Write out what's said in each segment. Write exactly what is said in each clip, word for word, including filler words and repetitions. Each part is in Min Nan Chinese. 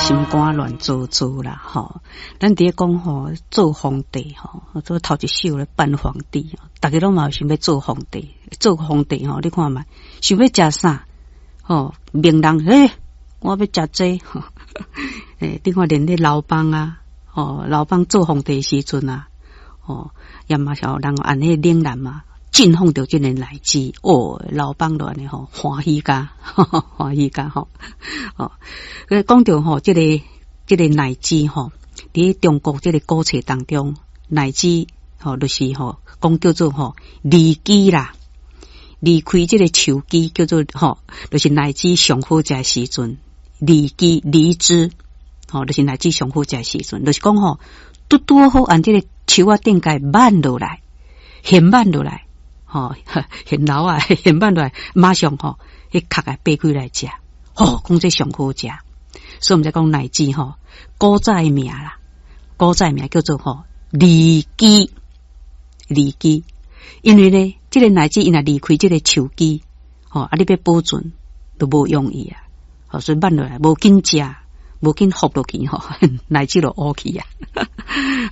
心肝亂糟糟啦，吼！咱佇咧講吼，做皇帝吼，做頭一首咧扮皇帝，逐家攏嘛有想欲做皇帝，做皇帝吼，你看覓，想欲食啥？吼，名人欸，我欲食這個，欸，你看連咧劉邦啊，吼，劉邦做皇帝時陣啊，吼，也嘛是予人按彼嶺南嘛，進奉著這个奶汁，哦，劉邦就按呢吼，歡喜甲，歡喜甲吼，哦，講著吼，這個這個奶汁吼，佇中國這個古冊當中，奶汁吼，就是吼，講叫做吼離枝啦，離開這個樹枝叫做吼，就是奶汁上好食的時陣，離枝離枝，吼，就是奶汁上好食的時陣，就是講吼，拄拄好按這個樹仔頂共挽落來，現挽落來。吼，現老啊，現挽落來，馬上吼，彼殼啊擘開來食，吼，講這上好食。所以毋才講奶汁吼，古早的名啦，古早的名叫做吼離枝，離枝。因為呢，這個奶汁伊若離開這個樹枝，吼，啊，你欲保存都無容易啊。吼，所以挽落來無緊食，無緊服落去吼，奶汁就烏去啊。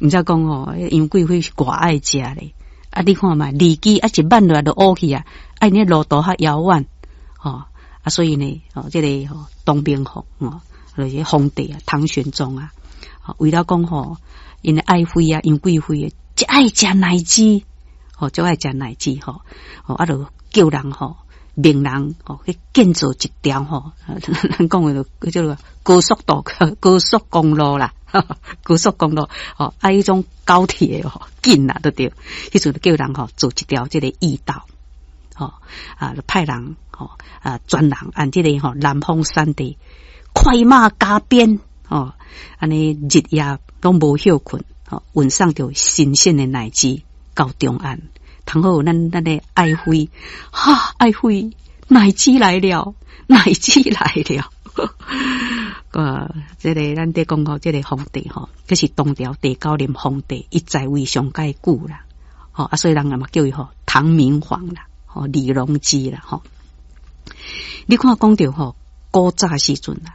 毋才講吼，楊貴妃是偌愛食咧。啊！你看覓，離枝啊，一挽落來就烏去啊！啊，𪜶路途較遙遠，吼啊，所以呢，吼，這個吼，唐明皇吼，就是皇帝啊，唐玄宗啊，為了講吼，𪜶的愛妃啊，楊貴妃足愛食奶汁，吼，足愛食奶汁吼，吼啊，就叫人吼，命人吼去建造一條吼，咱講的就叫做高速道、高速公路啦。高速公路吼，啊，彼種高鐵吼，緊啦，都對。彼陣就叫人吼做一條這個驛道，吼啊，派人吼啊，專人按這個吼南方山地快馬加鞭，吼，按呢日夜攏無歇睏，吼運送著新鮮的奶汁到長安。通好咱咱的愛妃，哈，愛妃，奶汁來了，奶汁來了。呃，這個咱佇講吼，這個皇帝吼，這是唐朝第九任皇帝，伊在位上蓋久啦，吼啊，所以人嘛叫伊吼唐明皇啦，吼李隆基啦，吼。你看講著吼古早時陣啦，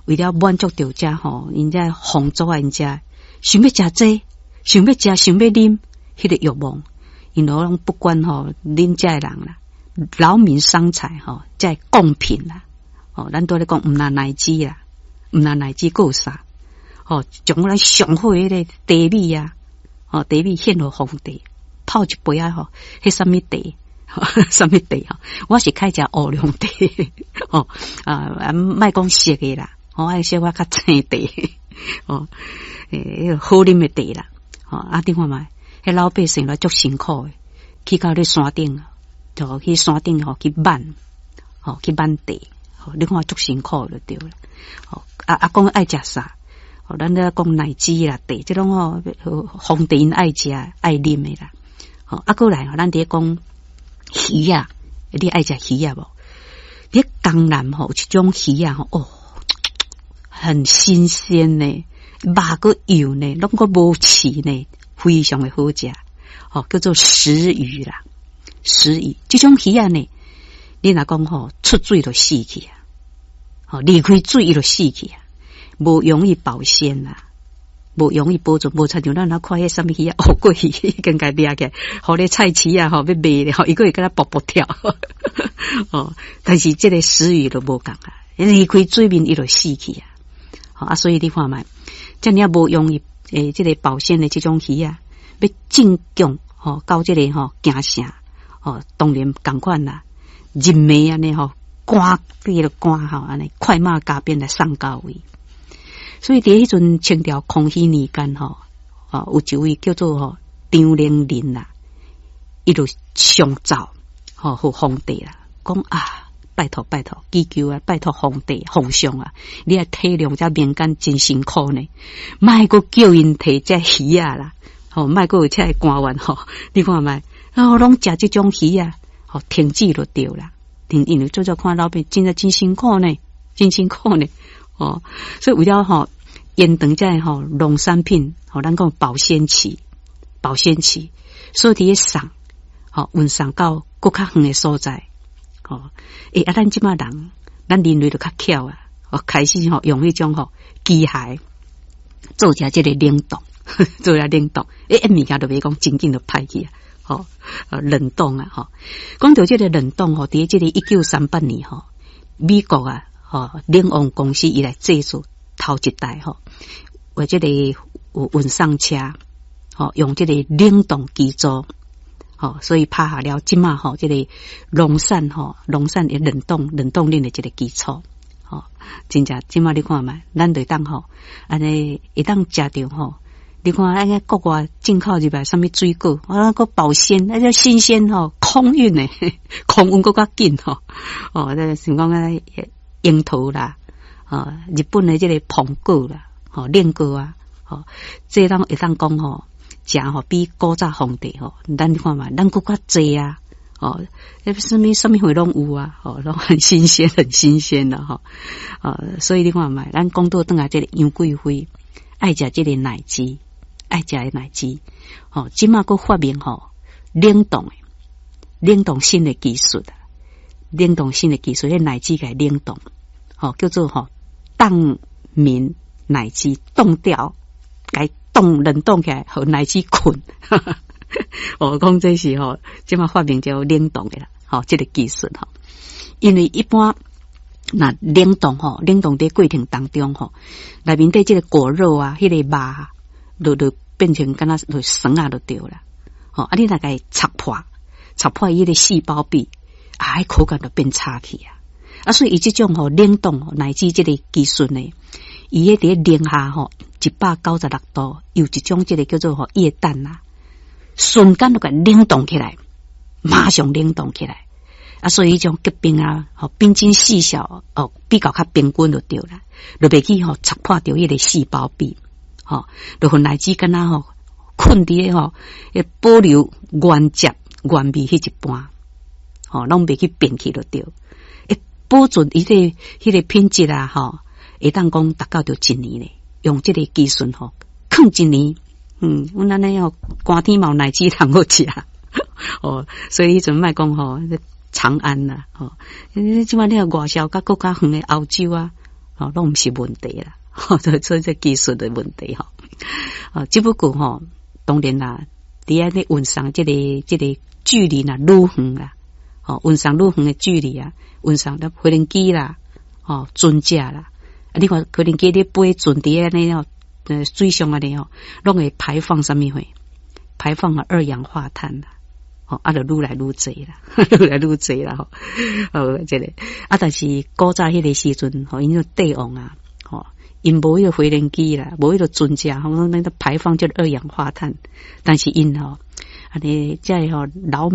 為了滿足著遮吼，𪜶遮皇族啊，𪜶遮想欲食這，想欲食，想欲啉，彼個慾望，𪜶攏不管吼恁遮的人啦，勞民傷財吼，這貢品啦，吼，咱拄咧講毋若奶汁啦。毋若奶汁閣有啥？吼，將咱上好彼個茶米啊，吼，茶米獻予皇帝，泡一杯仔吼，彼啥物茶？啥物茶吼？我是較愛食烏龍茶，吼啊，莫講色的啦，我愛小可較青茶，吼，欸，好啉的茶啦，吼，啊，你看覓，彼老百姓來足辛苦的，去到咧山頂，就去山頂吼去挽，吼去挽茶，吼，你看足辛苦就對啦，吼。啊啊！講愛食啥？吼，咱咧講奶汁啦，茶，這攏吼皇帝𪜶愛食愛啉的啦。吼，啊，閣來吼，咱佇咧講魚仔，你愛食魚仔無？佇江南吼有一種魚仔吼，哦，很新鮮呢，肉閣幼呢，攏閣無刺呢，非常的好食。吼，叫做石魚啦，石魚這種魚仔呢，你若講吼出水就死去啊！吼，離開水伊就死去啊，無容易保鮮啦，無容易保存，無親像咱若看彼啥物魚仔，烏龜魚已經共掠起來，予咧菜市仔吼欲賣咧，吼伊閣會敢若噗噗跳，哦，但是這個石魚就無仝啊，離開水面伊就死去啊，啊，所以你看覓，遮爾仔無容易欸，這個保鮮的這種魚仔，欲進貢吼到這個吼京城，吼當然仝款啦，人命按呢吼。趕彼個趕吼，按呢快馬加鞭來送到位。所以佇彼陣清朝康熙年間吼，哦，有一位叫做吼張能仁啦，伊就上奏吼予皇帝啦，講啊，拜託拜託，祈求啊，拜託皇帝皇上啊，你愛體諒遮民間真辛苦呢，莫閣叫𪜶提這魚仔啦，吼，莫閣有這个官員吼，你看覓，哦，攏食這種魚仔，吼，停止就對啦。因為做做看老百姓真正真辛苦呢，真辛苦呢，哦，所以為了吼延長這個吼農產品，吼咱講保鮮期，保鮮期，所以佇咧送，吼運送到閣較遠的所在，吼，欸啊，咱這馬人，咱人類就較巧啊，哦，開始吼用彼種吼機械做成這個冷凍，做成冷凍，欸，物件就袂講真緊就歹去啊，吼，冷凍啊，吼，講著這個冷凍吼，佇這個一九三八年吼，美國啊，吼，冷王公司伊來製造頭一代吼，為這個運送車，吼，用這個冷凍機組。吼，所以拍下了這馬吼，這個農產吼，農產的冷凍冷凍鏈的這個基礎，吼，真正這馬你看覓，咱就當吼，按呢會當食著吼，你看按呢國外進口入來啥物水果，啊，閣保鮮，那個新鮮吼，空運的，空運閣較緊吼，哦，這像講啊，櫻桃啦，哦，日本的這個蘋果啦，吼，冷果啊，吼，這當會當講吼。食吼比古早皇帝吼，咱看覓，咱閣較濟啊，哦，那啥物啥物貨攏有啊，吼，攏很新鮮，很新鮮的吼，哦，所以你看覓，咱講倒轉來這個楊貴妃愛食這個奶雞，愛食的奶雞，吼，這馬閣發明吼冷凍的冷凍新的技術啊，冷凍新的技術，彼奶雞共冷凍，吼，叫做吼凍眠奶雞，凍掉，共凍冷凍起來，予奶雞睏。我講這是吼，這馬發明叫冷凍的啦，吼，這個技術吼。因為一般若冷凍吼，冷凍佇過程當中吼，內面底這個果肉啊，彼個肉，就就變成敢若就酸啊，就對啦。吼，啊，你若共插破，插破伊彼個細胞壁，啊，彼口感就變差去啊。啊，所以伊這種吼冷凍奶雞這個技術呢，伊彼佇零下吼一百九十六度，有一種這個叫做吼液氮啊，瞬間就共冷凍起來，馬上冷凍起來。啊，所以彼種結冰啊，吼冰晶細小哦，比較較平均就對啦，就袂去吼戳破著彼個細胞壁，吼，就予奶雞敢若吼睏佇咧吼，會保留原汁原味彼一半，吼，攏袂去變去就對。會保存伊個彼個品質啊，吼，會當講達到著一年咧，用這個技術吼，囥一年，嗯，阮按呢吼，寒天嘛有奶雞通好食，哦，所以彼陣莫講吼。長安啦，吼，這馬你若外銷佮閣較遠的歐洲啊，吼，攏毋是問題啦，所以這技術的問題吼，哦，只不過吼，當然啦，佇按呢運送這個這個距離若愈遠啦，吼，運送愈遠的距離啊，運送的飛行機啦，吼，船隻啦，啊，你看飛行機咧飛船佇按呢吼，呃，水上按呢吼，攏會排放啥物貨？排放啊二氧化碳啦。吼，啊，就愈來愈濟啦，愈來愈濟啦，吼，哦，這個啊，但是古早彼個時陣，吼，𪜶個帝王啊，吼，𪜶無彼個飛行機啦，無彼個船隻，吼，那個排放這個二氧化碳，但是𪜶吼，按呢，這個吼老。